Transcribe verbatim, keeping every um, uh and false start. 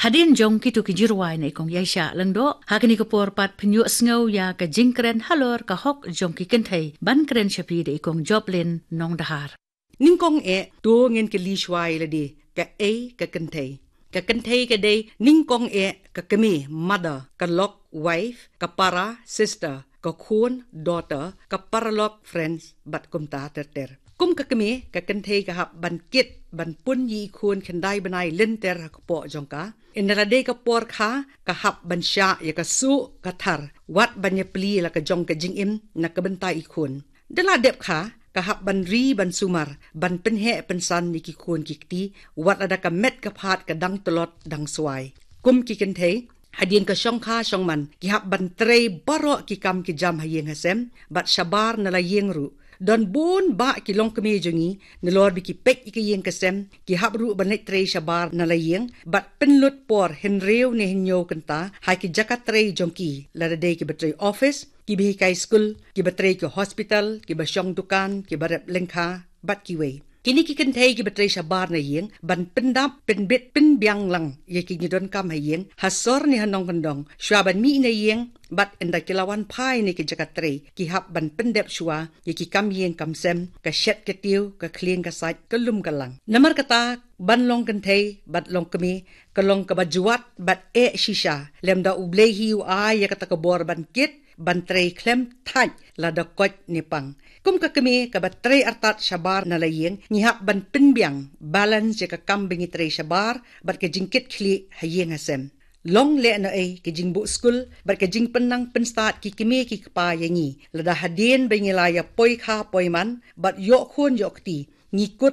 Hadien jong kito ki jingrwai na i Kong Yaisha Lyngdoh, ha kane ka por pat pynïohsngew ïa ka jingkren halor ka hok jong ki kynthei ban kren sha phi da i Kong Joplin Nongdahar. Nyngkong eh, to ngin kylli shuwa ïa lade, kaei ka kynthei? Ka kynthei ka dei nyngkong eh ka kmie, mother, ka lok, wife, ka para, sister, ka khun, daughter, ka paralok, friends, bad kumta ter ter. Kum ka kmie, ka kynthei ka hap ban kit, ban pun ïa i khun khyndai bnai lynter ha kpoh jong ka. Ynda la dei ka por kha, ka hap ban shah ïa ka suh ka thar, wat ban ïa plie la ka jong ka jingim na ka bynta i khun. Da la dep kha, ka hap ban ri ban sumar, ban pynheh pynsan ïa ki khun ki kti, wat lada ka met ka phad ka dang tlot dang swai. Kum ki kynthei, hadien ka shongkha shongman, ki hap ban trei baroh ki kam ki jam ha ïing ha sem, bad shabar na la ïing ruh. Don bun bah ki longkmie jong ngi, nalor ba ki peit ïa ka ïing ka sem, ki hap ruh ban leit trei shabar na la ïing, bad pynlut por hynriew ne hynñiew kynta ha ki jaka trei jong ki, lada dei kiba trei office, kiba hikai skul, kiba trei ki hospital, kiba shong dukan, kiba rep lyngkha, bad kiwei. Kine ki kynthei kiba trei shabar na ïing, ban pyndap, pynbit, pynbiang lang ïa ki jingdonkam ha ïing, ha sor ne ha nongkyndong, shuwa ban mih na ïing, bad ynda ki la wan phai na ki jaka trei, ki hap ban pyndep shuwa ïa ki kam ïing kam sem, ka shet ka tiew, ka khlieng ka sait, ka lum ka lang. Namar kata, ban long kynthei bad long kmie, ka long kaba jwat bad eh shisha, lymda U Blei hi u ai ïa kata ka bor ban kit, ban trei khlem thait lada koit ne pang. Kum ka kmie kaba trei artat shabar na la ïing, ngi hap ban pynbiang, balance ïa ka kam ba ngi trei shabar bad ka jingkit khlieh ha ïing ha sem. Long lehnohei ka jingbuh skul bad ka jingpynnang pynstad ki kmie ki kpa ïa ngi, lada hadien ba ngi la ïa poi kha poi man bad ïoh khun ïoh kti, ngi kut